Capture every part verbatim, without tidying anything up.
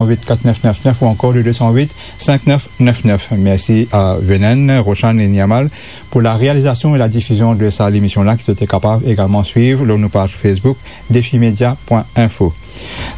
huit quatre neuf neuf neuf ou ankor le deux cent huit cinq neuf neuf neuf. Mersi a Venen, Roshan e Niamal pou la realizasion e la difizion de sa lemision la, ki zot kapav egalman swiv lor nou paz Facebook, defi media point info.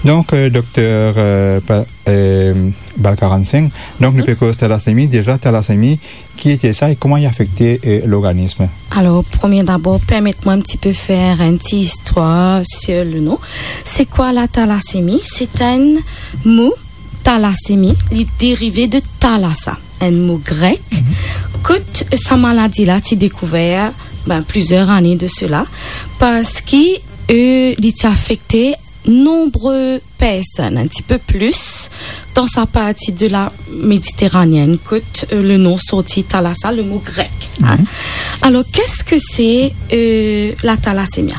Donk, euh, Dokter, euh, Pa-, euh, Balkaran Singh, donk nou pe koz talasemi. Deza, talasemi, ki ete sa e kouma li afekte, euh, lorganism? Alors, premier d'abord, permettez-moi un petit peu faire un petit histoire sur le nom. C'est quoi la thalassémie? C'est un mot, thalassémie, li derive de thalassa, un mot grec. Mhm. Kot sa maladi la ti dekouver, ben, plizier ane de sela, parski, euh, li ti afekte nonbre personn, un petit peu plus, dan sa parti de la Méditerranéenne, kot, euh, le nom sorti thalassa, le mot grec, hein. Mhm. Alors, qu'est-ce que c'est, euh, la thalassémie?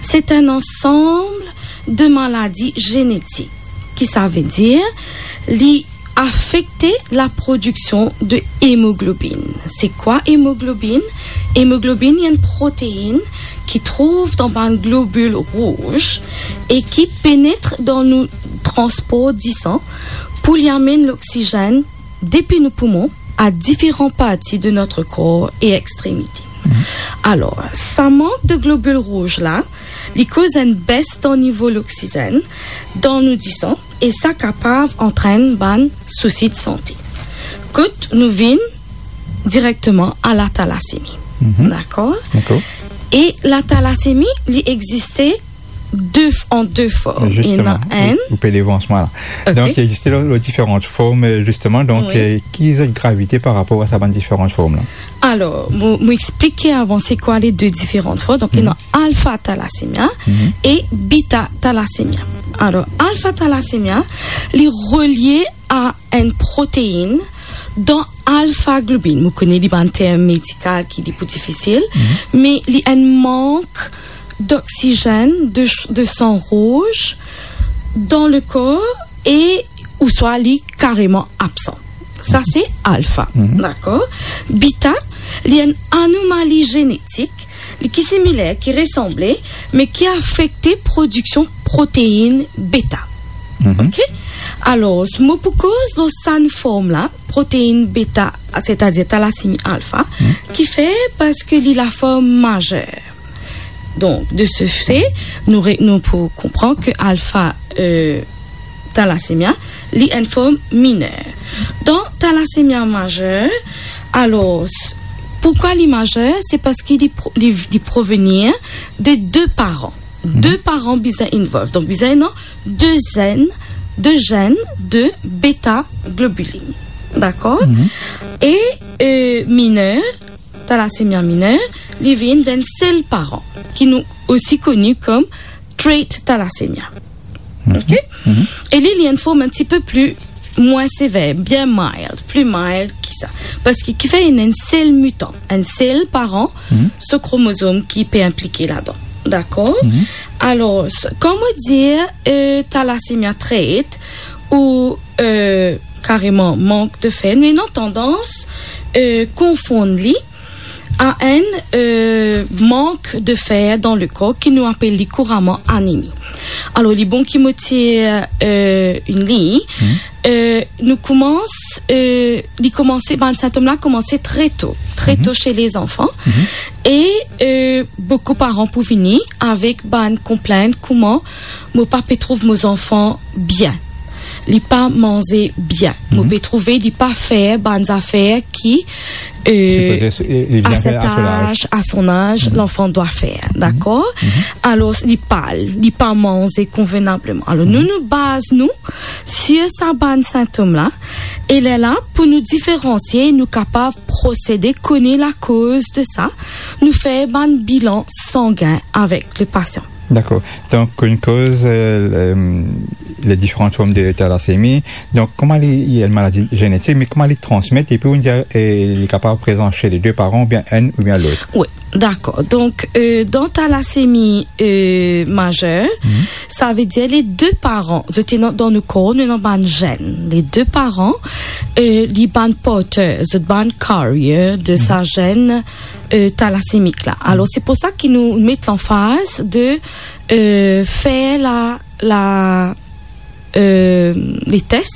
C'est un ensemble de maladies génétiques, ki sa ve dir, li afekte la prodiksion de hémoglobine. C'est quoi hémoglobine? Hémoglobine, li enn proteine ki trouv dan bann globil rouz e ki penetre dan nou transpor disan pou li amenn loksizenn depi nou poumon a diferan parti de notre corps e extremite. Mhm. Alors, sa mank de globil rouz la, li koz enn bes dan nivo loksizenn dan nou disan, e sa kapav antrenn bann sousi de sante. Kot nou vinn direkteman a la thalassémie. Mhm. Dakor? Dakor. E la thalassémie, li existe de f-, an de form. Ena, zisteman, enn, ou, ou pe devans mwa la. Ok. Donk, li existe lor, lor diferan form, euh, zisteman. Donk, wi, euh, ki zot gravite par rapor a sa bann diferan form la? Alors, mo, mo explike avan se kwa le de diferan form. Donk, mhm, ena alfa thalassémie, mhm, e beta thalassémie. Alors, alfa thalassémie, li relie a enn proteine dan alfa globine. Mo kone li bann term medikal ki li pou difisil, mhm, me li enn mank d'oksizenn, de ch-, de san rouz dan le kor e ouswa li kareman absan. Sa, mhm, se alfa, mhm, dakor? Beta, li enn anomali zenetik, li ki similer, ki resanble, me ki afekte prodiksion proteine beta. Mhm. Ok? Alors, mo pou koz lor sa form la, proteine beta, c'est-à-dire thalassémie alfa, mhm, ki fer parski li laform mazer. Donk, de ce fait, nou re-, nou pou konpran ke alfa, euh, thalassémie, li enn form miner. Dan thalassémie mazer, alors, poukwa li mazer? Se parski li pro-, li, li provenir de de paran. Mhm. De paran bizin involve. Donk, bizin ena de zenn, de zenn de beta globulin. Dakor? Mhm. E, euh, miner, thalassémie miner, li vinn d'enn sel paran, ki nou osi koni kom trait thalassémie. Mhm. Ok? Mhm. E li, li enn form enn tipe pli mwin sever, bien mild, pli mild ki sa. Parski ki fer ena enn sel mitan, enn sel paran, mhm, so kromozom ki pe inplike ladan. Dakor? Mhm. Alors, s-, kan mo dir, euh, thalassémie trait ou, euh, kareman mank de fer, nou ena tandans, euh, konfonn li a enn, euh, mank de fer dan le kor ki nou apel li kouraman anemi. Alors, li bon ki mo tir, euh, enn lign. Mhm. Euh, nou koumans, euh, li koumanse, bann sintom la koumanse tre to, tre to, mhm, se lezanfan. Mhm. E, euh, boukou paran pou vini avek bann konplent kouma mo pa pe trouv mo zanfan bien. Li pa manze bien. Mo, mhm, pe trouve li pa fer bann zafer ki, euh, sipoze, e, li bien fer a so laz. À cet âge, à son âge, mhm, l'enfant doit faire, mhm, dakor? Mhm. Alors, li pal, li pa manze konvenableman. Alors, nou, mhm, nou baz nou sir sa bann sintom la, e lerla, pou nou diferansie, nou kapav prosede, kone lakoz de sa, nou fer bann bilan sangin avek le pasian. Dakor. Donk, nou koz, euh, le, les différentes formes de thalassémie. Donk, kouma li, li enn maladi zenetik, me kouma li transmet, epi ou dir, euh, li kapav prezan se le de paran, oubien enn oubien lot? Wi, dakor. Donk, euh, dan thalassémie, euh, mazer, mhm, sa ve dir le de paran, zot ena dan nou kor, nou ena bann zenn. Le de paran, euh, li bann porter, zot bann carrier de, mhm, sa zenn, euh, thalassémik la. Alors, mhm, se pou sa ki nou met lanfaz de, euh, fer la, la, euh, les tests.